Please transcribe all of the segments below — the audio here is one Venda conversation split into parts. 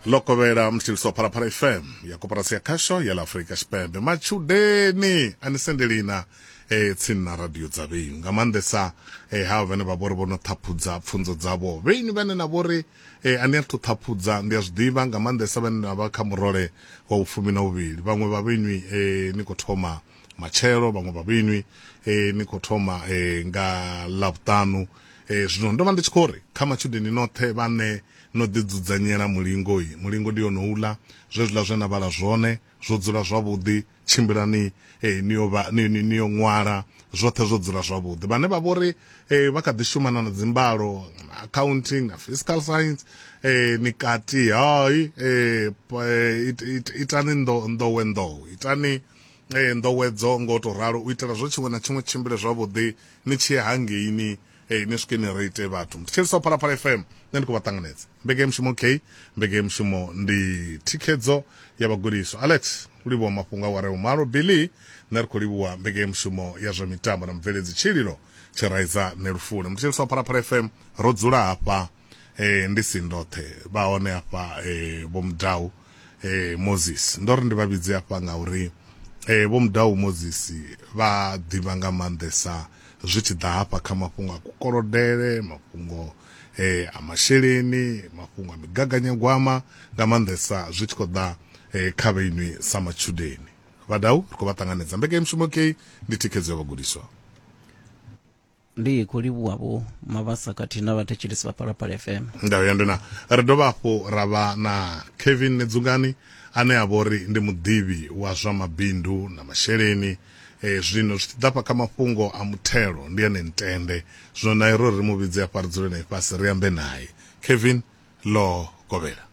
Ḽo kovhela mthetshelesi wa Phalaphala FM ya koporasi ya khasho ya ḽa Afrika Tshipembe. Matshudeni a ni sendelina e, tsini na radio dza vheinwi nga maanḓesa e, havha vhane vha vhori vho no ṱhaphudza pfunzo dzavho vheinwi vhane na vhori e, a ni athu ṱhaphudza ndi a zwi ḓivha nga maanḓesa vhane na vha kha murole wa vhufumi na vhuvhili vhaṅwe vha vheinwi e, ni khou thoma matshelo vhaṅwe vha vheinwi e, ni khou thoma e, nga ḽavhuṱanu e, zwino ndo vha ndi tshi khou ri kha matshudeni noṱhe vhane no ḓi dzudzanyela mulingo i mulingo ndi yonouḽa zwezwiḽa zwe na vhala zwone zwo dzula zwavhuḓi tshimbilani eh, ni yo vha ni, ni, ni yo ṅwala zwoṱhe zwo dzula zwavhuḓi vhane vha vhori eh, vha kha ḓi shumana na dzimbalo na accounting na fiscal science eh, ni kati hai eh, eh, it, it, itani ndo, nḓowe nḓowe itani eh, nḓowedzo ngo to ralo u itela zwo tshiṅwe na tshiṅwe tshimbile zwavhuḓi ni tshi ya hangeini Ee, ni swike ni rate vhathu. Mthetshelesi wa Phalaphala FM, nṋe ndi khou vha ṱanganedza. Mbekanyamushumo K, mbekanyamushumo ndi thikhedzo ya vhagudiswa. Alex, u livhuwa mafhungo a awara ya vhumalo. Billy, nṋe ri khou livhuwa mbekanyamushumo ya zwa mitambo na mubveledzi Tshililo Tshiraiza Nelufule. Mthetshelesi wa Phalaphala FM, ro dzula hafha eh, ndi si ndoṱhe, vha hone hafha eh, Vho Mudau eh, Moses. Ndo ri ndi vha vhidze hafha ngauri eh, Vho Mudau Moses vha ḓivha nga maanḓesa zwi tshi ḓa hafha kha mafhungo a kukolodele, mafhungo eh, a masheleni, mafhungo a migaganyagwama, nga maanḓesa zwi tshi khou ḓa eh, kha vhainwi sa matshudeni. Vhadau ri khou vha ṱanganedza. Mbekanyamushumo kei ndi thikhedzo ya vhagudiswa. Ndi khou livhuwa vho Mabasa khathihi na vhathetshelesi vha Phalaphala FM. Ndau ya nduna. Ri dovha hafhu ra vha na Kevin Nedzungani ane a vha uri ndi muḓivhi wa zwa mabindu na masheleni. E, zwino zwi tshi ḓa fha kha mafhungo a muthelo ndi ene ntende. Zwino naye ro ri mu vhidze hafha ri dzule naye fhasi ri ambe naye. Kevin ḽo kovhela.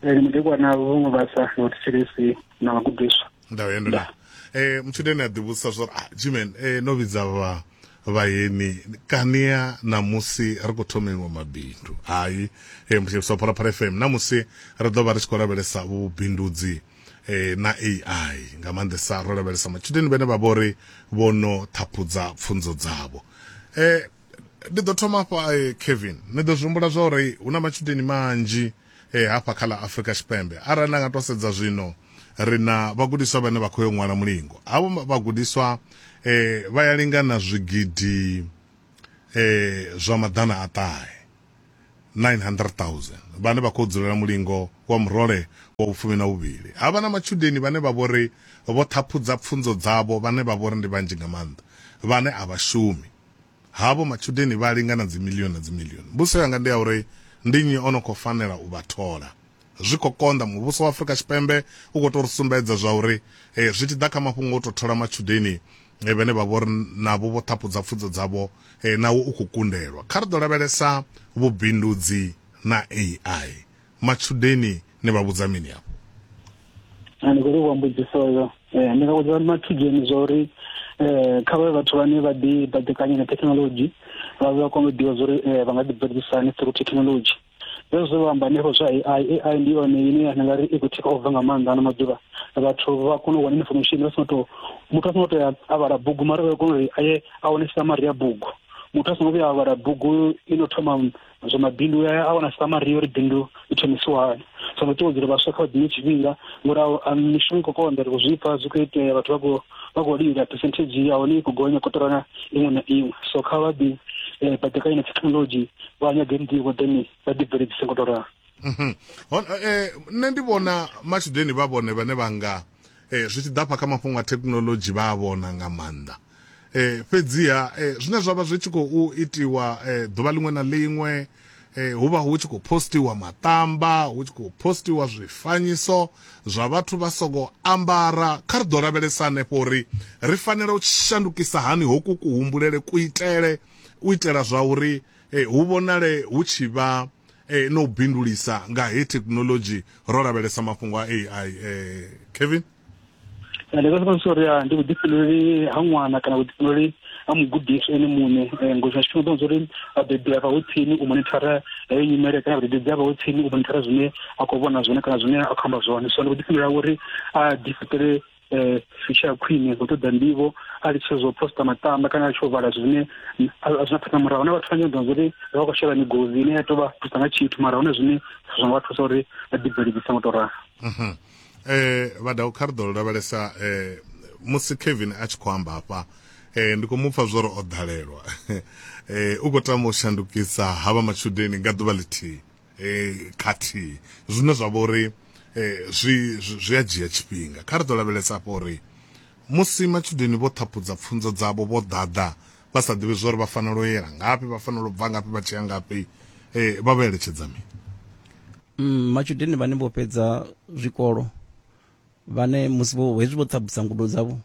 Ndi mudekwana Vho Mabasa na vhathetshelesi na vhagudiswa. Ndau ya nduna. Eh, mutshudeni a ḓivhudzisa zwa uri ah, Gman, eh, no vhidza vha vhayeni kania namusi ri khou thomeliwa mabindu hai eh, mutshudeni wa Phalaphala FM namusi ri ḓo vha ri tshi khou lavhelesa vhubindudzi eh, na AI nga maanḓesa ro lavhelesa matshudeni vhane vha vhori vho no ṱhaphudza pfunzo dzavho eh, ndi ḓo thoma hafha eh, Kevin ni ḓo zwi humbula zwa uri hu na matshudeni manzhi eh, hafha kha ḽa Afrika Tshipembe arali na nga to sedza zwino ri na vhagudiswa vhane vha khou yo ṅwala mulingo havho vhagudiswa eh, vha ya lingana zwigidi eh, zwa maḓana a ṱahe 900,000 vhane vha khou dzulela mulingo wa murole wa vhufumi na vhuvhili. Havha na matshudeni vhane vha vhori vho ṱhaphudza pfunzo dzavho vhane vha vhori ndi vhanzhi nga maanḓa vhane a vha shumi. Havho matshudeni vha lingana dzimilioni na dzimilioni. Mbudziso yanga ndi ya uri ndi nnyi o no khou fanela u vha thola? Zwi khou konḓa. Muvhuso wa Afrika Tshipembe u khou tou ri sumbedza zwa uri zwi tshi ḓa kha mafhungo o tou thola matshudeni vhane vha vhori navho vho ṱhaphudza pfunzo dzavho nawo u khou kundelwa. Kha ri ḓo lavhelesa vhubindudzi na AI. Matshudeni ni vha vhudza mini afho? Ndi khou livhuwa mbudziso iyo. Ndi nga vhudza matshudeni zwa uri kha vha vhe vhathu vhane vha ḓi baḓekanya na thekhinolodzhi, vha vha kone u ḓivha zwa uri vha nga ḓi bveledzisa hani through thekhinolodzhi. Zwezwo zwe vha amba hanefho zwa AI, AI ndi yone ine ya nga ri i khou take over nga maanḓa ano maḓuvha. Vhathu vha kona u wana information vha songo tou muthu a songo tea a vhala bugu mara vha kona uri a ye a wane summary ya bugu. Muthu a songo vhuya a vhala bugu ino thoma zwa mabindu ya a wana summary ya uri bindu i thomisiwa hani. So ndi ṱuṱuwedza uri vhaswa kha vha ḓine tshifhinga ngori mishumo i khou konḓa ri khou zwi pfa zwi khou itea vhathu vha khou vha khou lila percentage ya hone i khou gonya kotara iṅwe na iṅwe. So kha vha ḓi baḓekanye na thekhinolodzhi vha nyage nḓivho then vha ḓi bveledzise ngo to ralo. Mhm. Eh, nṋe ndi vhona matshudeni vha vhone vhane vha nga eh, zwi tshi ḓa fha kha mafhungo a thekhinolodzhi vha a vhona nga maanḓa eh, fhedziha eh, zwine zwa vha zwi tshi khou itiwa eh, ḓuvha ḽiṅwe na ḽiṅwe eh, hu vha hu tshi khou postiwa maṱamba hu tshi khou postiwa zwifanyiso zwa vhathu vha songo ambara kha ri ḓo lavhelesa hanefho uri ri fanela u shandukisa hani hoku kuhumbulele kuitele u itela zwa uri eh, hu vhonale hu tshi vha eh, no bindulisa nga he thekhinolodzhi ro lavhelesa mafhungo a AI eh, Kevin Ndi nga soko uri ndi vhuḓifhinduleli ha ṅwana kana vhuḓifhinduleli ha mugudiswa ene muṋe ngori tshiṅwe tshifhinga u ḓo uri vhabebi a vha ho tsini u monithara heyo nyimele kana vhadededzi a vha ho tsini u monithara zwine a khou vhona zwone kana zwine a khou amba zwone so ndi vhuḓifhinduleli ha uri a ḓifhaṱele. Future ya khwine nga u ṱoḓa nḓivho, a litshe zwo posta matamba kana a litshe u vhala zwine a zwi na phanḓa murahu. Huna vhathu vhanzhi ḓo uri vha khou shela migodzi ine ya tou vha thusa nga tshithu, mara huna zwine zwa nga vha thusa uri vha ḓi bveledzise nga u tou ralo. Vhadau, kha ri ḓo lavhelesa musi Kevin a tshi khou amba hafha, ndi khou mu pfa zwori o ḓalelwa, u khou tama u shandukisa havha matshudeni nga ḓuvha ḽithihi khathihi, zwine zwa vha uri zwi zwi a dzhia tshifhinga. Kha ri ḓo lavhelesa hafha uri musi matshudeni vho ṱhaphudza pfunzo dzavho vho ḓaḓa vha sa ḓivhi zwori vha fanela u yela ngafhi, vha fanela u bva ngafhi vha tshi ya ngafhi, vha vha eletshedza mini? Matshudeni vhane vho fhedza zwikolo, vhane musi vho hezwi vho ṱhaphudza ngudo dzavho,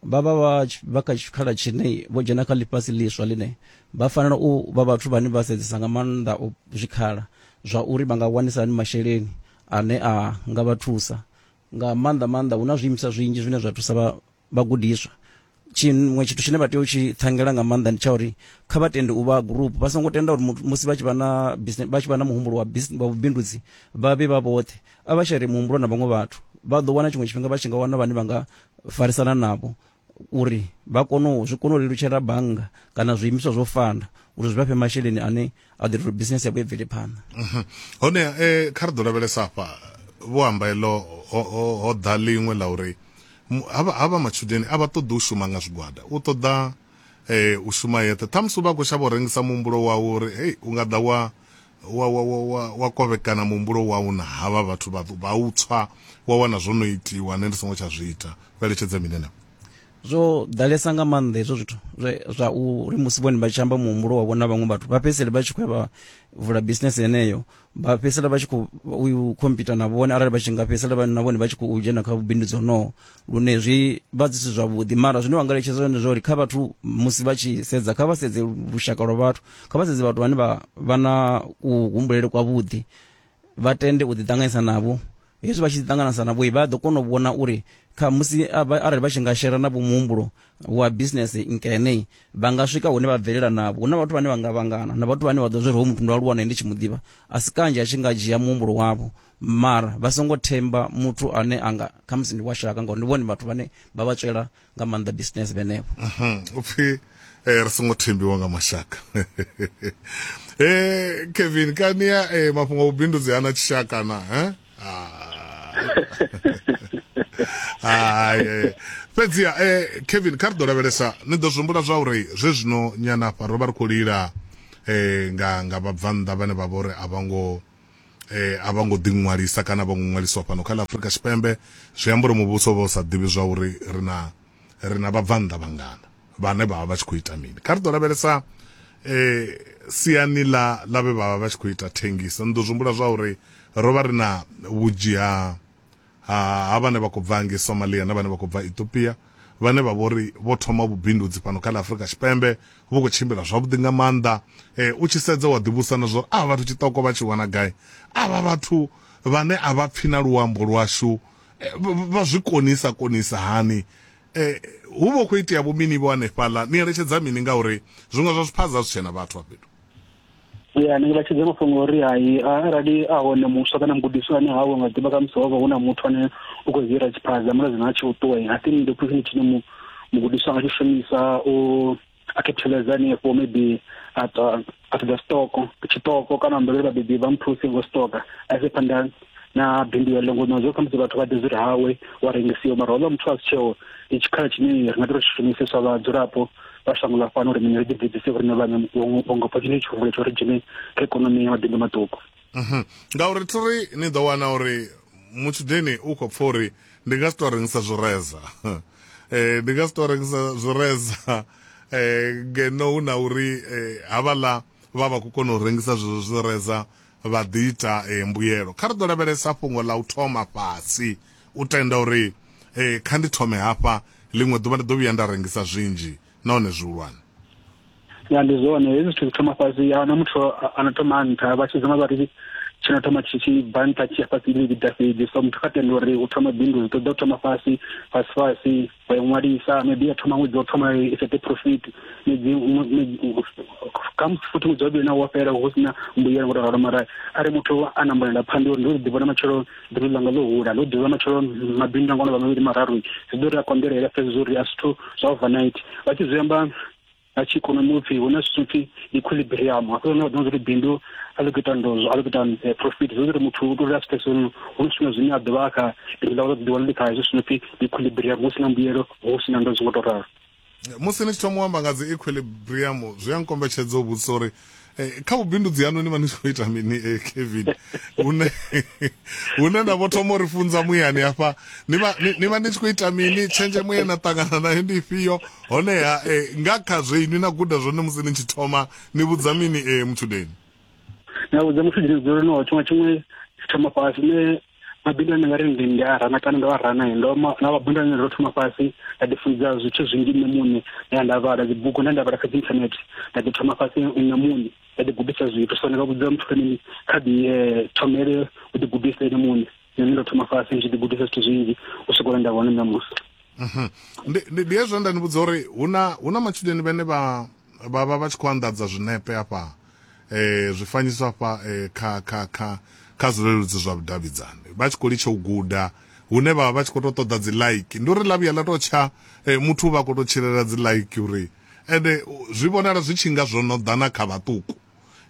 vha vha vha kha tshikhala tshine vho dzhena kha ḽifhasi ḽiswa ḽine vha fanela u vha vhathu vhane vha sedzesa nga maanḓa u zwikhala zwa uri vha nga wanisa hani masheleni ane a nga vha thusa nga maanḓa maanḓa. Hu na zwiimiswa zwinzhi zwine zwa thusa vhagudiswa. Tshiṅwe tshithu tshine vha tea u tshi thangela nga maanḓa ndi tsha uri kha vha tende u vha group, vha songo tenda uri musi vha tshi vha na business, vha tshi vha na muhumbulo wa business wa vhubindudzi, vha vhe vha vhoṱhe. A vha shere muhumbulo na vhaṅwe vhathu, vha ḓo wana tshiṅwe tshifhinga vha tshi nga wana vhane vha nga farisana navho uri vha kone u zwi kone u lelutshela bannga kana zwiimiswa zwo fana uri zwi vha fhe masheleni ane a ḓo ita uri business yavho i bvele phanḓa. Hone kha ri ḓo lavhelesa hafha, vho amba iḽo ho ḓa ḽiṅwe ḽa uri havha matshudeni a vha ṱoḓi u shuma nga zwigwada, u ṱoḓa u shuma yeṱhe. Ṱhamusi u vha khou shavha u rengisa muhumbulo wawe uri hei u nga ḓa wa wa wa wa wa wa kovhekana muhumbulo wau na havha vhathu vha u tswa, wa wana zwo no itiwa nṋe ndi songo tsha zwi ita. Vha eletshedza mini henefho? Zwo ḓalesa nga maanḓa hezwo zwithu zwa uri musi vhone vha tshi amba muhumbulo wavho na vhaṅwe vhathu, vha fhedzisele vha tshi khou ya vha vula business yeneyo, vha fhedzisela vha tshi khou u khompyuta na vhone, arali vha tshi nga fhedzisela vha na vhone vha tshi khou dzhena kha vhubindudzi honoho, lune zwi vha zwi si zwavhuḓi. Mara zwine wa nga eletshedza zwone zwa uri kha vhathu musi vha tshi sedza, kha vha sedze lushaka lwa vhathu, kha vha sedze vhathu vhane vha vha na kuhumbulele kwavhuḓi, vha tende u ḓiṱanganyisa navho. Hezwi vha tshi ḓiṱanganisa navho, vha ḓo kona u vhona uri kha musi arali vha tshi nga shera navho muhumbulo wa business nkene, vha nga swika hune vha bvelela navho. Hu na vhathu vhane vha nga vhangana na vhathu vhane vha ḓo zwi uri hoyu muthu ndo aluwa nae ndi tshi mu ḓivha, a si kanzhi a tshi nga dzhia muhumbulo wavho, mara vha songo themba muthu ane anga khamusi ndi wa shaka, ngauri ndi vhone vhathu vhane vha vha tswela nga maanḓa business vhenevho. Upfi ri songo thembiwa nga mashaka. Kevin, kania mafhungo a vhubindudzi hana tshishaka na eh? Hai, fhedziha Kevin, kha ri ḓo lavhelesa, ni ḓo zwi humbula zwa uri zwe zwino nyana afha ro vha ri khou lila nga vhabvannḓa vhane vha vha uri a vha ngo a vha ngo ḓiṅwalisa kana vha ngo ṅwaliswa fhano kha ḽa Afrika Tshipembe. Zwi amba uri muvhuso vha u sa ḓivhi zwa uri ri na ri na vhabvannḓa vhangana vhane vha vha vha tshi khou ita mini. Kha ri ḓo lavhelesa siani ḽa ḽa vhe vha vha vha tshi khou ita thengiso. Ni ḓo zwi humbula zwa uri ro vha ri na vhunzhi ha ha vhane vha khou bva ngei Somalia na vhane vha khou bva Ethiopia, vhane vha vhori vho thoma vhubindudzi fhano kha ḽa Afrika Tshipembe, vhu khou tshimbila zwavhuḓi nga maanḓa. U tshi sedza wa ḓivhusa na zwa uri avha vhathu tshiṱoko vha tshi wana gai, avha vhathu vhane a vha pfhi na luambo lwashu vha zwi konisa konisa hani. Hu vha hu khou itea vho mini vho hanefhaḽa? Ni eletshedza mini, ngauri zwiṅwe zwa zwiphaza zwi tshena vhathu hafha fhethu? Ya, ndi nga tshedza mafhungo uri hai, arali a hone muswa kana mugudiswa ane hawe nga ḓivha khamusi ho vha hu na muthu ane u khou hira tshiphaza mara zwino a tshi u ṱuwa, I think ndi opportunity tshine mugudiswa a nga tshi shumisa u a capitalize hanefho, maybe a ṱoḓa stoko tshitoko kana ambela uri vhabebi vha muthuse ngo stoka a ise phanḓa na bindu heḽo, ngo zwo khamusi vhathu vha ḓi zwi uri hawe wa rengisiwa, mara houḽa muthu a si tsheo. Ndi tshikhala tshine ri nga ḓi ri tshi shumise sa vhadzulapo vha shango ḽa fhano uri mini ri ḓibvedzise uri vhaṋe vhunga opportunity tshihumbulo tsho ri dzhene kha ikonomi ya mabindu maṱuku. Ngauri thiri ni ḓo wana uri mutshudeni u khou pfa uri ndi nga si tou rengisa zwireza, ndi nga si tou rengisa zwireza ngeno hu na uri havhaḽa vha vha khou kona u rengisa zwezwo zwireza vha ḓi ita mbuyelo. Kha ri ḓo lavhelesa fhungo ḽa u thoma fhasi, u tenda uri kha ndi thome hafha, ḽiṅwe ḓuvha ndi ḓo vhuya nda rengisa zwinzhi nahone zwihulwane. Ya, ndi zwone hezwi zwithu zwi thoma fhasi, a huna muthu a no thoma nṱha, vha tshi zama vha ri Tshi no thoma tshi tshi bva nṱha tshi ya fhasi ndi vhiḓa fhedzi. So muthu kha tende uri u thoma bindu zwi ṱoḓa u thoma fhasi fhasi fhasi, wa ṅwalisa, maybe ya thoma ṅwedzi wa u thoma i sete profit, ṅwedzi khamusi futhi ṅwedzi wa vhuvhili nawo wa fhela hu sina mbuyelo ngo to ralo. Mara arali muthu a na mbonela phanḓa uri ndi ḓi vhona matshelo bindu ḽanga ḽo hula, ndo ḓivha matshelo mabindu anga ono vha mavhili mararu, zwi ḓo ri a konḓelela fhedzi zwo uri a zwithu zwa overnight. Vha tshi zwi amba nga tshi ikonomi upfhi hu na zwithu pfhi equilibrium, hafho hune vha ḓo uri bindu a ḽi khou ita ndozwo, a ḽi khou ita profit, zwi uri muthu u tou ri a swike hu na zwifhinga zwine a ḓovha a kha bindu ḽawe ḽa ḓi wana ḽi kha hezwi zwino pfhi equilibrium, hu si na mbuyelo hu si na ndozwo ngo tou ralo. Musi ni tshi thoma u amba nga dzi equilibrium zwi a nkombetshedza u vhudzisa uri kha vhubindudzi haṋu ni vha ni tshi khou ita mini, Kevin? Hune hune na vho thoma uri funza muyani hafha, ni vha ni vha ni tshi khou ita mini? Tshenzhemo ye na ṱangana nayo ndi ifhio? Honeha nga kha zwe inwi na guda zwone musi ni tshi thoma, ni vhudza mini mutshudeni? Ndi vhudza mutshudeni uri no tshiṅwe tshiṅwe tshi thoma fhasi. Nṋe mabindu ane nga ri ndi ndi a rana kana ndo a rana, ndo na mabindu ane ndo thoma fhasi nda ḓi funza zwithu zwinzhi nṋe muṋe, nda nda vhala dzibugu, nda nda vhala kha dzi internet, nda ḓi thoma fhasi nṋe muṋe nda ḓi gudisa zwithu. So ndi nga vhudza muthu uri kha ḓi thomele u ḓi gudisa ene muṋe. Nṋe ndo thoma fhasi ndi tshi ḓi gudisa zwithu zwinzhi u swika nda vhona ṋamusi. Ndi hezwo nda ni vhudza uri huna huna matshudeni vhene vha vha vha vha tshi khou anḓadza zwinepe hafha, zwifanyiso hafha, kha kha kha kha zwileludzi zwa vhudavhidzani, vha tshi khou litsha u guda hune vha vha vha tshi khou tou ṱoḓa dzi like. Ndi uri ḽa vhuya ḽa tou tsha, muthu vha khou tou tshilela dzi like, uri ende zwi vhonala zwi tshi nga zwo no ḓa na kha vhaṱuku,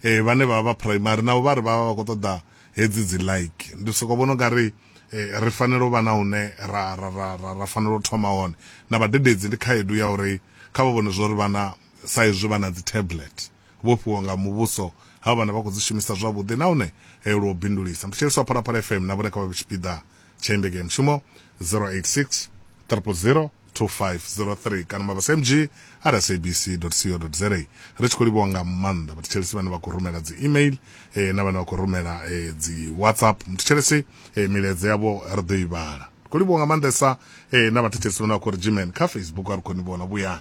vhane vha vha primary navho vha ri vha vha vha khou ṱoḓa hedzi dzi like. Ndi soko vhona ungari ri fanela u vha na hune ra ra ra ra, ra fanela u thoma hone na vhadededzi. Ndi khaedu ya uri kha vha vhone zwo ri vhana sa izwi vha na dzi tablet vho fhiwa nga muvhuso, ha vhana vha khou dzi shumisa zwavhuḓi nahone lwo bindulisa. Mthetshelesi wa Phalaphala FM na vhone kha vha tshipiḓa tsha mbekanyamushumo 086 000 2503 kana mabasa mg at sabc co za. Ri tshi khou livhuwa nga maanḓa vhathetshelesi vhane vha khou rumela dzi email, na vhane vha khou rumela dzi WhatsApp. Muthetshelesi, milaedza yavho ri ḓo i vhala. Khou livhuwa nga maanḓesa na vhathetshelesi vhane vha khou ri Gman kha Facebook, a ri khou ni vhona vhuyani.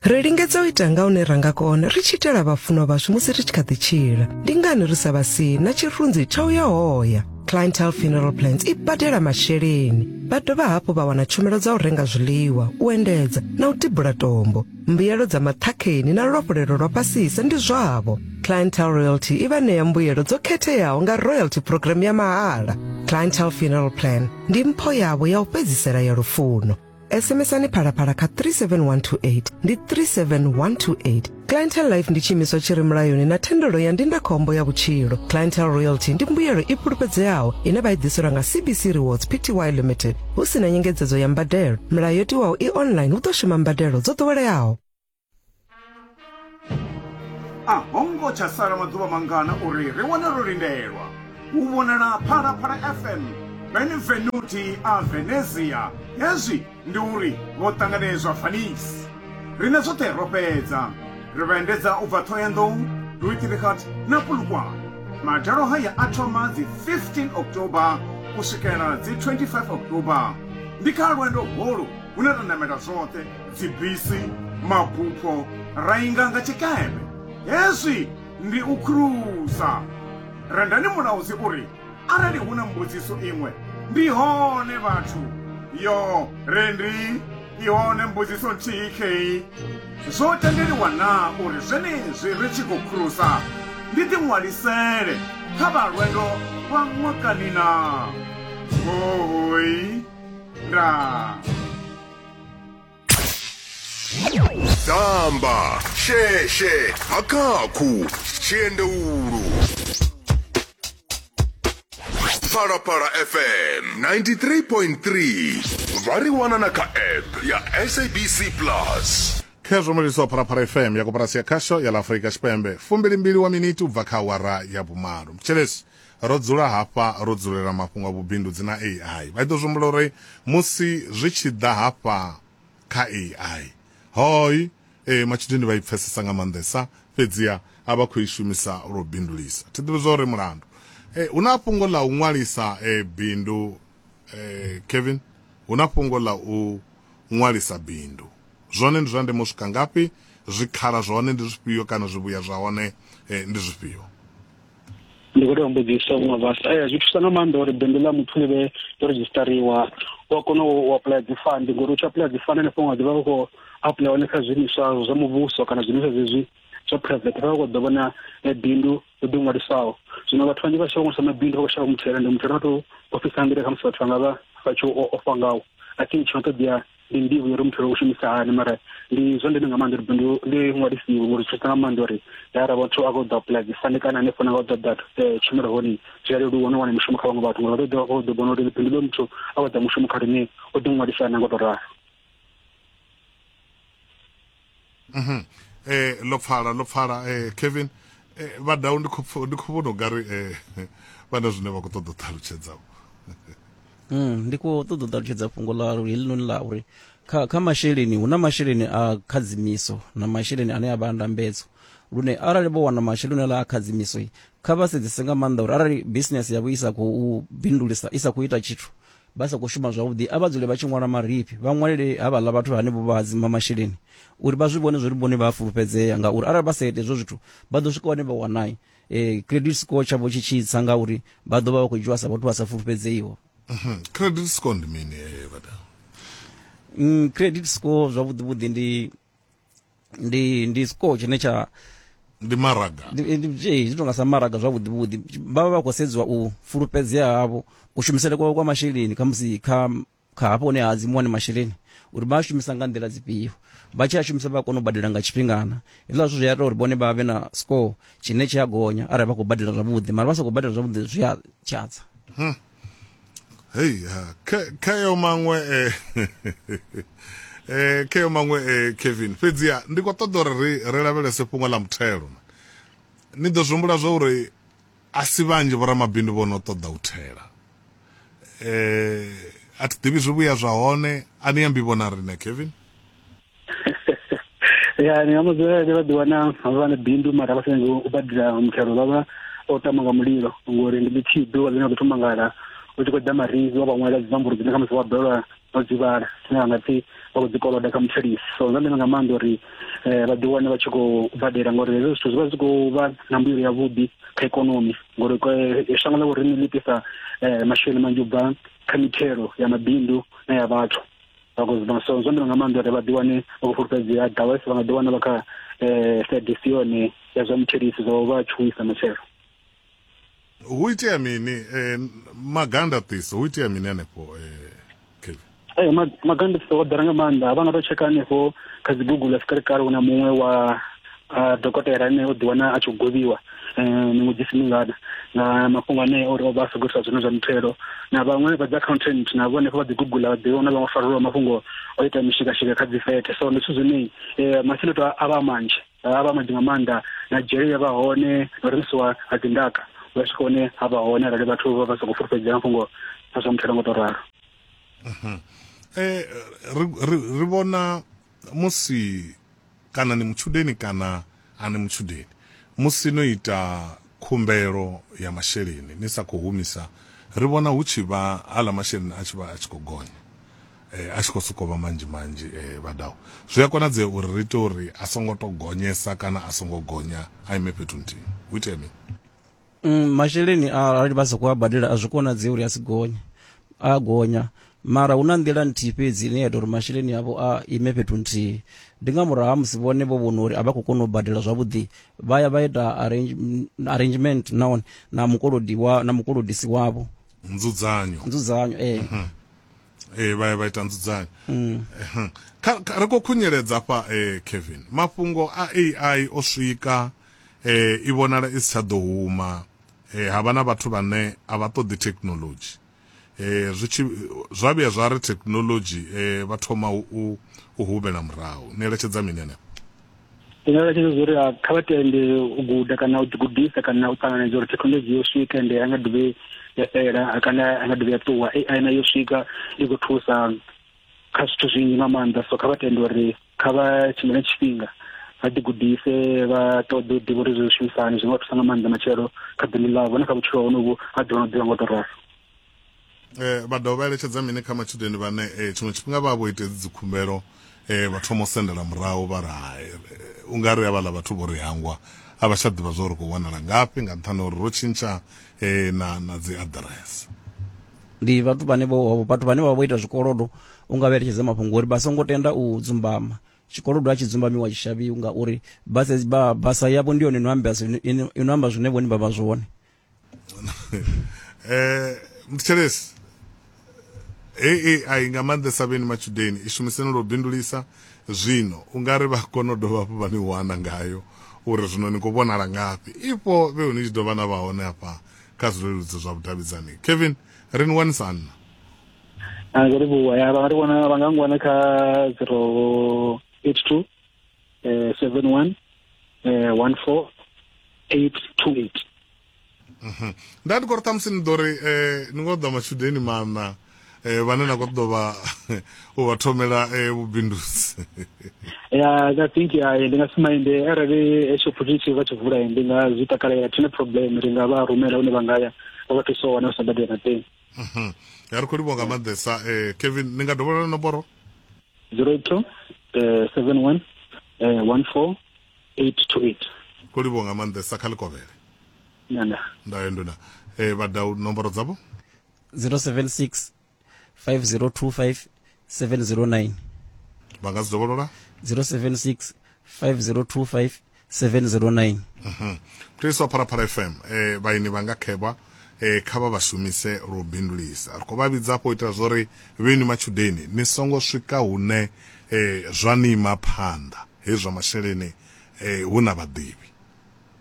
Ri lingedza u ita nga hune ra nga kona ri tshi itela vhafunwa vhashu musi ri tshi kha ḓi tshila. Ndi ngani ri sa vha sii na tshirunzi tsha u ya hoya? Clientele Funeral Plans i badela masheleni. Vha dovha hafhu vha wana tshumelo dza u renga zwiḽiwa, u endedza na u tibula tombo. Mbuyelo dza maṱhakheni na luafhulelo lwa fhasisa ndi zwavho. Clientele Royalty i vha ṋea mbuyelo dzo khetheaho nga royalty program ya mahala. Clientele Funeral Plan ndi mpho yavho ya u fhedzisela ya lufuno. SMSani Phalaphala kha 37128, ndi 37128. Clientele Life ndi tshiimiswa tshi re mulayoni na thendelo ya ndindakhombo ya vhutshilo. Clientele Royalty ndi mbuyelo i fhulufhedzeaho ine vha i ḓiselwa nga CBC Rewards Pty Limited hu si na nyengedzedzo ya mbadelo. Milayo yo tiwaho i online, hu ḓo shuma mbadelo dzo ḓoweleaho. A ho ngo tsha sala maḓuvha mangana uri ri wane ro lindelwa u vhonala Phalaphala FM Benvenuti a Venezia. Hezwi ndi uri vho ṱanganedzwa Venice. Riṋe zwoṱhe ro fhedza. Ri vha endedza u bva Ṱhohoyanḓou, Louis-Trichardt na Polokwane. Madalo haya a thoma dzi 15 October u swikela dzi 25 October. Ndi kha lwendo holu hune ra namela zwoṱhe dzibisi, mabufho, ra inga nga tshikepe. Hezwi ndi u khurusa. Rendani Mulaudzi uri arali hu na mbudziso iṅwe, ndi hone vhathu. Yo, Rendi, i hone mbudziso nthihi khei. Zwo tendeliwa naa uri zwenezwi ri tshi khou khurusa ndi ḓiṅwalisele kha vha lwendo lwa ṅwakani naa? Hoooi, ndaa. Damba, sheshe, hakhakhu, tshiendeulu. Phalaphala FM 93.3 vha ri wana na kha app ya SABC Plus. Khezwo mulisa wa Phalaphala FM ya koporasi ya khasho ya ḽa Afrika Tshipembe, 22 wa miniti u bva kha awara ya vhumalo. Mthetshelesi, ro dzula hafha ro dzulela mafhungo a vhubindudzi na AI. Vha ḓo zwi humbula uri musi zwi tshi ḓa hafha kha AI, hoi e, matshudeni vha i pfesesa nga maanḓesa, fhedziha a vha khou i shumisa lwo bindulisa. Thi ḓivhi zwa uri mulandu. E, hu na fhungo ḽa u ṅwalisa e, bindu, e, Kevin, hu na fhungo ḽa u ṅwalisa bindu. Zwone ndi zwa ndeme u swika ngafhi? Zwikhala zwa hone ndi zwifhio kana zwivhuya zwa hone e, ndi zwifhio? Ndi khou tea u mbudzisa muṅwe vhasa. Ee, zwi thusa nga maanḓa uri bindu ḽa muthu ḽi vhe ḽo redzhisiṱariwa, u a kona u apuḽaya dzi fund, ngori u tshi apuḽaya dzi fund hanefho nga ḓivha u khou apuḽaya hone kha zwiimiswa zwa muvhuso kana zwiimiswa zwezwi zwa private, vha vha khou ḓo vhona bindu ḽo ḓi ṅwalisaho. Zwino vhathu vhanzhi vha shavha u ṅwalisa mabindu, vha khou shavha muthelo, ende muthelo vha tou ofhisa nga nḓila khamusi vhathu vha nga vha vha tshi ofha ngawo. I think tshi no ṱoḓea ndi nḓivho ya uri muthelo u shumisa hani, mara ndi zwa ndeme nga maanḓa uri bindu ḽi ṅwalisiwe, ngori zwi thusa nga maanḓa uri arali vhathu a khou ḓo apply dzi fund kana hanefho na nga u ṱoḓa tshumelo hone, zwi a leluwa no wana mishumo kha vhaṅwe vhathu, ngori vha ḓo vhona uri bindu ḽo muthu a khou ḓa mushumo kha riṋe o ḓi ṅwalisa na nga u tou ralo. Ḽo pfala, ḽo pfala. Kevin, vhadau ndi khou ndi khou vhona ungari vha na zwine vha khou ṱoḓa u ṱalutshedza. Ndi khou ṱoḓa u ṱalutshedza fhungo ḽa heḽinoni ḽa uri kha masheleni hu na masheleni a khadzimiso na masheleni ane a vha ndambedzo, lune arali vho wana masheleni aḽa a khadzimiso, kha vha sedzese nga maanḓa uri arali business yavho i sa khou bindulisa, i sa khou ita tshithu, vha sa khou shuma zwavhuḓi, a vha dzule vha tshi ṅwala marifhi, vha ṅwalele havhaḽa vhathu hanevho vha hadzima masheleni uri vha zwi vhone zwori vhone vha a fulufhedzea, ngauri arali vha sa ite hezwo zwithu vha ḓo swika hone vha wanai credit score tshavho tshi tshi tsa, ngauri vha ḓo vha vha khou dzhiwa sa vhathu vha sa fulufhedzeiho. Credit score ndi mini, vhada? Credit score zwavhuḓi vhuḓi ndi score tshine tsha ndi maraga. Zwi tonga sa maraga zwavhuḓi vhuḓi, vha vha vha khou sedziwa u fulufhedzea havho, kushumisele kwavho kwa masheleni, khamusi kha hafho hune ha hadzimiwa hone masheleni, uri vha a shumisa nga nḓila dzifhio, vha tshi a shumisa vha kona u badela nga tshifhingana. Hezwiḽa zwithu zwi a ita uri vhone vha vhe na score tshine tshi a gonya arali vha khou badela zwavhuḓi, mara vha sa khou badela zwavhuḓi zwi a tshatsa. Hei, khayo maṅwe khayo maṅwe Kevin, fhedziha ndi khou ṱoḓa uri ri lavhelese fhungo ḽa muthelo. Ni ḓo zwi humbula zwa uri a si vhanzhi vhoramabindu vho no ṱoḓa u thela. A thi ḓivhi zwivhuya zwa hone, a ni ambi vhona riṋe Kevin? Ya, ni nga mudzulela vha ḓi wana vha na bindu mara vha sa nyagi u badela muthelo, vha vha o tama nga mulilo, ngori ndi ḽithihi ḓuvha ḽine vha ḓo thoma ngala u tshi khou ḓa marifhi wa vha ṅwalela dzi nomboro dzine khamusi wa balelwa no dzi vhala, dzine vha nga pfhi vha khou dzi koloda kha muthelisi. So zwa ndeme nga maanḓa uri vha ḓi wane vha tshi khou badela, ngori hezwo zwithu zwi vha zwi khou vha na mbuyelo yavhuḓi kha ikonomi, ngori shango ḽa vho riṋe ḽi ḓisa masheleni manzhi u bva kha mithelo ya mabindu na ya vhathu. So zwa ndeme nga maanḓa uri vha ḓi wane vha khou fulufhedzea, otherwise vha nga ḓi wana vha kha side si yone ya zwa muthelisi, zwa vha tshuwisa matshelo. Hu itea mini magandaṱiso, hu itea mini hanefho Kevin? Magandaṱiso o ḓala nga maanḓa, vha nga to tsheka hanefho kha dzi Google a si kale kale hu na muṅwe wa dokotela ane o ḓi wana a tshi govhiwa miṅwedzi isi mingana nga mafhungo ane uri o vha a sa khou ita zwone zwa muthelo, na vhaṅwe vha dzi accountant na vhone vha ḓi Google vha ḓi wana vhaṅwe farelwa mafhungo o ita mishikashika kha dzi fete. So ndi zwithu zwine masiandoitwa a vha manzhi, a vha manzhi nga maanḓa, na dzhele ya vha hone, na u rengisiwa ha dzi ndaka vha swika hone ha vha hone arali vhathu vha vha sa khou fulufhedzea mafhungo a zwa muthelo nga to ralo. Ri vhona musi kana ni mutshudeni kana a ni mutshudeni, musi no ita khumbelo ya masheleni ni sa khou humisa, ri vhona hu tshi vha aḽa masheleni a tshi vha a tshi khou gonya, a tshi khou sokou vha manzhi manzhi. Vhadau, zwi a konadzea uri ri ite uri a songo to gonyesa kana a songo gonya a ime fhethu nthihi? Hu itea mini? Masheleni arali vha sa khou a badela a zwi konadzei uri a si gonye, a gonya, mara hu na nḓila nthihi fhedzi ine ya ita uri masheleni avho a ime fhethu nthihi, ndi nga murahu ha musi vhone vho vhona uri a vha khou kona u badela zwavhuḓi, vha ya vha ita arrangement nahone na mukolodi wa na mukolodisi wavho, nzudzanyo, nzudzanyo. Vha ya vha ita nzudzanyo. Kha ri khou khunyeledza fha, Kevin, mafhungo a AI o swika, i vhonala i si tsha ḓo huma, ha vha na vhathu vhane a vha ṱoḓi thekinoḽodzhi, zwi tshi zwa vhuya zwa ri thekinoḽodzhi vha thoma u humela murahu. Ni eletshedza mini hanefho? Ndi nga eletshedza uri kha vha tende u guda kana u ḓigudisa kana u ṱanganedza uri thekinoḽodzhi yo swika, ende a nga dovhe ya fhela kana a nga dovhe ya ṱuwa. AI na yo swika i khou thusa kha zwithu zwinzhi nga maanḓa, so kha vha tende uri kha vha tshimbile tshifhinga vha ḓigudise, vha ṱoḓe u ḓivha uri zwi shumisa hani, zwi nga thusa nga maanḓa matshelo kha bindu ḽavho na kha vhutshilo honovhu ha ḓuvha na ḓuvha nga u tou ralo. Vha dovha vha eletshedza mini kha matshudeni vhane tshiṅwe tshifhinga vha vho ita hedzi dzikhumbelo, vha thoma u sendela murahu vha ri hai, u nga ri havhaḽa vhathu vho ri hangwa, a vha tsha ḓivha zwa uri khou wanala ngafhi nga nṱhani uri ro tshintsha eh, na na dzi aḓirese. Ndi vhathu vhane vho vhathu vhane vha vho ita zwikolodo u nga vha eletshedza mafhungo uri vha songo tenda u dzumbama. Tshikolodo a tshi dzumbamiwa tshi shavhiwi ngauri basa ba, basa yavho ndi yone ino amba zwine ino amba zwine vhone vha vha zwone. Eh, mthetshelesi hei AI nga maanḓesa vheni matshudeni i shumiseni lwo bindulisa zwino u nga ri vha kona u dovha hafhu vha ni wana ngayo uri zwino ni khou vhonala ngafhi ifho vhe ni tshi dovha na vha hone hafha kha zwileludzi zwa vhudavhidzani. Kevin, ri ni wanisa nna? A ndo livhuwa ya vha nga ri wana vha nga ngwana kha 082 71 14 828. Nda ndi khou ri ṱhamusi ni ḓo ri ni ngo ḓa matshudeni maṋa vhane na khou ṱoḓa vha u vha thomela vhubindudzi. Ya, I think ya ndi nga si mainde arali hetsho opportunity vha tshi vula ndi nga zwi takalela, thina problem, ri nga vha rumela hune vha nga ya vha vha thusa u wana sa badela na teng. Ya ri khou livhuwa nga maanḓesa. Kevin, ni nga dovholola nomboro? 082 71 14 828. Khou livhuwa nga maanḓesa, kha ḽikovhele. Nda. Ndayo nduna. Vhadau nomboro dzavho? 076 5025 709. Vha nga dzi dovholola? 076 5025 709. Mthetshelesi wa Phalaphala FM, vhaeni vha nga khevha kha vha vha shumise lwo bindulisa. Ri khou vha vhidza hafho u itela zwa uri vheni matshudeni ni songo swika hune zwa ni ima phanḓa hezwi zwa masheleni hu na vhaḓivhi.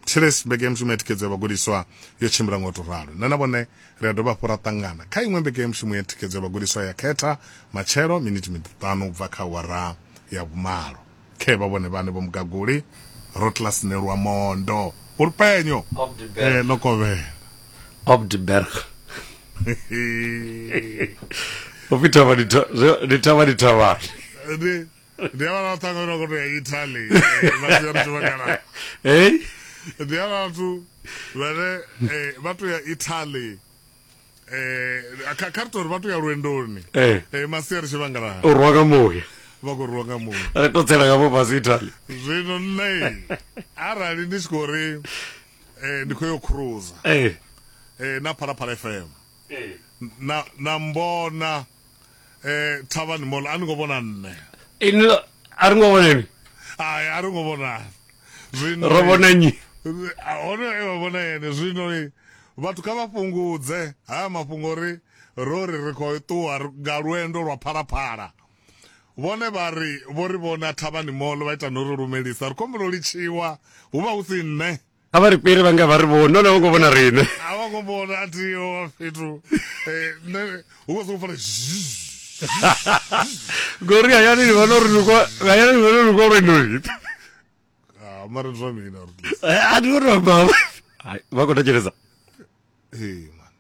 Thetshelesi, mbekanyamushumo ya thikhedzo ya vhagudiswa yo tshimbila nga u tou ralo. Nṋe na vhone ri a dovha hafhu ra ṱangana kha iṅwe mbekanyamushumo ya thikhedzo ya vhagudiswa ya khetha matshelo miniti miṱanu u bva kha awara ya vhumalo. Khe vha vhone vhane vho Mugaguli Rotlas Nelwamondo Vhulupenyo Opdeberg. ḽo kovhela. Opdeberg. Upfi thavha ndi thavha ndi thavhani. Ndi ndi havha vhathu vha khou tou ya Italy vha tshi ya tshivhangala. Hey? Ndi havha vhathu vhane vha tou ya Italy kha kha ri tou ri vha tou ya lwendoni masiari tshivhangalani. U rwa nga muya. Vha khou rwa nga muya. Ri tou tsela nga vho fhasi Italy. Zwino nṋe arali ndi tshi khou ri ndi khou yo cruiser na Phalaphala FM na na mbona Thavhani Mall a ni ngo vhona nṋe. Ini a ri ngo vhona inwi? Hai, a ri ngo vhonana. Zwino Ro vhona nnyi? Hone e vha vhona ene. Zwino vhathu kha vha fhungudze haya mafhungo uri ro ri ri khou ṱuwa nga lwendo lwa Phalaphala. Vhone vha ri vho ri vhona Thavhani Mall vha ita no ri lumelisa. Ri khou humbela u litshiwa hu vha hu si nṋe. A vha ri fhiri vha nga vha ri vhoni, nahone a vho ngo vhona riṋe. A vho ngo vhona a thiho fhethu. Nṋe hu vha sokou pfala Ngori hayani ni vhona uri ni khou hayani ni vhona uri ni khou lwendoni. Ah, mara ndi zwa mina uri. A thi khou amba. Hai, vha khou thetshelesa. Ee, man.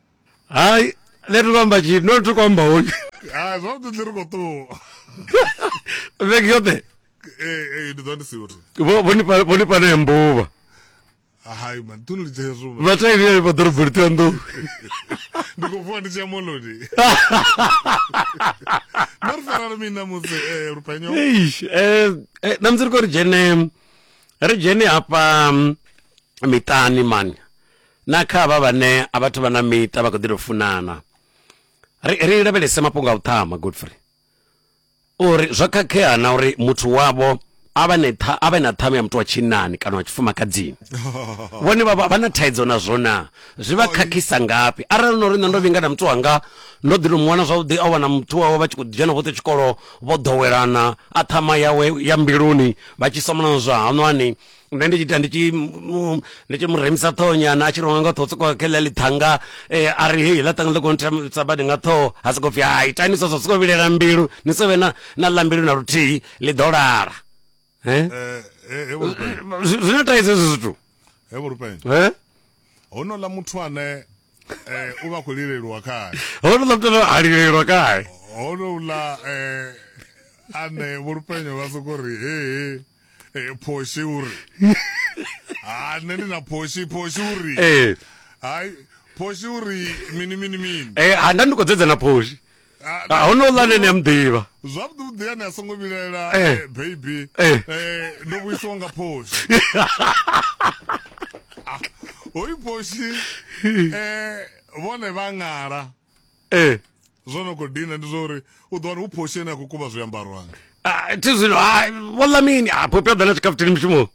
Hai, nṋe thi khou amba tshithu, no thi khou amba hoyu. Hai, zwavhuḓi ri khou ṱuwa. Vhege yoṱhe. Ee, ee, ndi ḓo ndi siho. Vho vho ni vho ni fha na mbuvha. Hai man, tu ni hezwo. Vha tea ni vha ḓoroboni Ṱhohoyanḓou. Ndi khou vuwa ndi tshi ya moḽoni. No ri farela mini ṋamusi Lupenyo? Eish, eh ṋamusi ri khou ri dzhene ri dzhene hafha miṱani mani na kha havha vhane a vhathu vha na miṱa vha khou ḓi tou funana. Ri ri lavhelese mafhungo a u ṱhama Godfrey. Uri zwo khakhea na uri muthu wavho a vha ne tha a vhe na ṱhamu ya muthu wa tshinnani kana wa tshifumakadzini. Vhone vha vha na thaidzo nazwo na zwi vha khakhisa ngafhi? Arali no ri nṋe ndo vhinga na muthu wanga ndo ḓi to mu wana zwavhuḓi a wana muthu wawe vha tshi khou dzhena vhoṱhe tshikolo vho ḓowelana a ṱhama yawe ya mbiluni vha tshi somana zwa haṋwani nṋe ndi tshi ita ndi tshi ndi tshi mu remisa ṱhoho nyana a tshi ronga nga ṱhoho soko kha ḽa ḽithanga a ri hei ḽa ṱhanga ḽi khou nthemisa badi nga ṱhoho ha soko pfhi hai itani so so soko vhilela mbilu ni so vhe na na ḽa mbilu na luthihi ḽi ḓo lala. Zwi na thaidzo hezwi zwithu. He vho Lupenyo. Hono ḽa muthu ane u vha khou lileliwa khae. Hono ḽa muthu ane a lilelwa khae. Hono ḽa ane vho Lupenyo vha soko ri he he phoshi uri ha nṋe ndi na phoshi phoshi uri hai phoshi uri mini mini mini ha nda ndi khou dzedza na phoshi. Hono ḽa ane ni a muḓivha zwavhuḓi vhuḓi ane a songo vhilaela baby ndo vhuisiwa nga phoshi. Hoyu Poshi vhone vha ṅala. Ee. Zwo no khou dina ndi zwa uri u ḓo wana hu Poshi ane a khou kuvha zwiambaro hanga. Ah, thi zwino hai vho ḽa mini? Ah, Phophi a ḓa na tshikafutini mushumoni.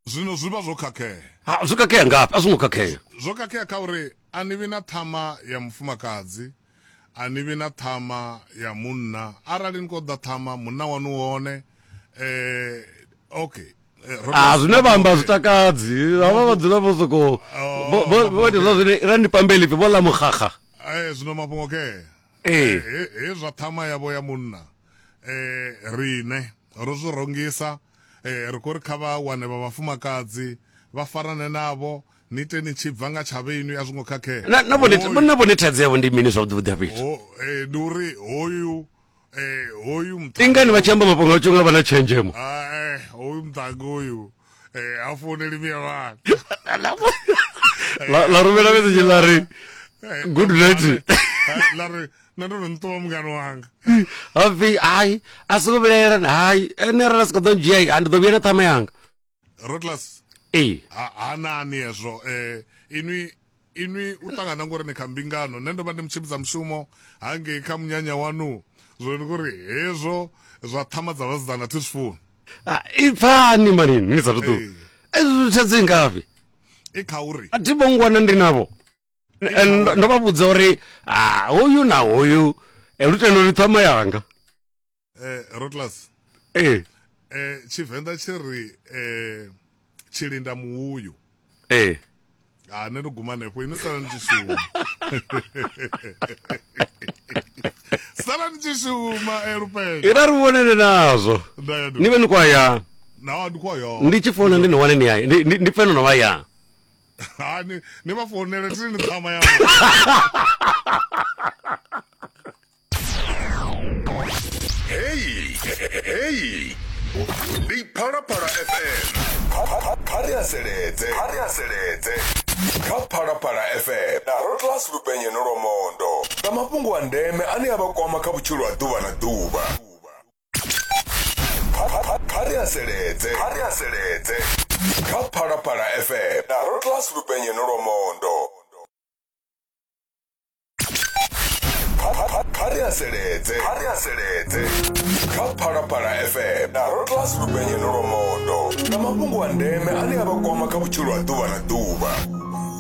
Zwino zwi vha zwo khakhea. Ha, zwo khakhea ngafhi? A zwo ngo khakhea. Zwo khakhea kha uri a ni vhi na ṱhama ya mufumakadzi, a ni vhi na ṱhama ya munna. Arali ni khou ḓa ṱhama, munna waṋu u hone. Eh, okay. Eh, ro Ah, tou- zwine vha amba zwi takadzi. Havha vha dzula vho sokou Oh, vho vho ita zwa zwine ra ndi pambeli pfi vho ḽa muxaxa. Eh, zwino mafhungo ke. Ee. He, he zwa ṱhama yavho ya munna. Eh, rine ro zwi rongisa. Eh, ri khou ri kha vha wane vha vhafumakadzi vha farane navho ni ite ni tshi bva nga tsha vheinwi a zwo ngo khakhea. Na na vhone Hoyu- na vhone thaidzo yavho ndi mini zwavhuḓi vhuḓi hafha fhethu? Ho, eh, ndi uri hoyu eh, hoyu Ndi ngani vha tshi amba mafhungo a tsho nga vha na tshenzhemo? Ah, eh, hoyu muṱhannga uyu eh, ha founeli miya vhana. La la rumela message la ri Eh, good night. La ri nṋe ndo no nṱuwa mungano wanga. Hapfi hai a songo vhilaela hai ene arali a si khou ḓo ndzhia a ndi ḓo vhuya na ṱhama yanga. Rotlas Ee. ha hanani hezwo eh inwi inwi u ṱangana ngori ni kha mbingano nṋe ndo vha ndi mutshimbidza mushumo hangei kha munyanya wanu zwino ndi kuri hezwo zwa ṱhama dza vhasidzana thi zwi funi. Ah, ipfani mani ni sa ṱuwa. Ee. Ezwo thaidzo i ngafhi? I kha uri A thi vho ngwana ndi navho. Eh, ndo ndo vha vhudza uri ah hoyu na hoyu eh, lutendo ndi ṱhama yanga. eh Rotlas Ee. eh Tshivenḓa tshi ri eh tshilinda muhuyu. Ee. Ha nṋe ndo guma hanefho inwi sala ni tshi shuma. Sala ni tshi shuma eh Lupenya. Ira ri vhonele nazwo. Nda ya Ni vhe ni khou ya. Na ndi khou ya. Ndi tshi founa ndi ni wane ni ya. Ndi ndi- ndi pfe no no vha ya. Ha ni ni vha founele thi ni ṱhama yavho. Hey, hey. Ndi Phalaphala FM. Kha- Kha ri haseledze. Kha ri haseledze. Kha Phalaphala FM na Rotlas Lupenyeno Lwamondo. Nga mafhungo a ndeme ane a vha kwama kha vhutshilo ha ḓuvha na ḓuvha. Kha- kha- Kha ri haseledze. Kha ri haseledze. Kha Phalaphala FM na Rotlas Lupenyeno Lwamondo. Kha- Kha ri haseledze. Kha ri haseledze. Kha Phalaphala FM na Rotlas Lupenyeno Lwamondo. Nga mafhungo a ndeme ane a vha kwama kha vhutshilo ha ḓuvha na ḓuvha.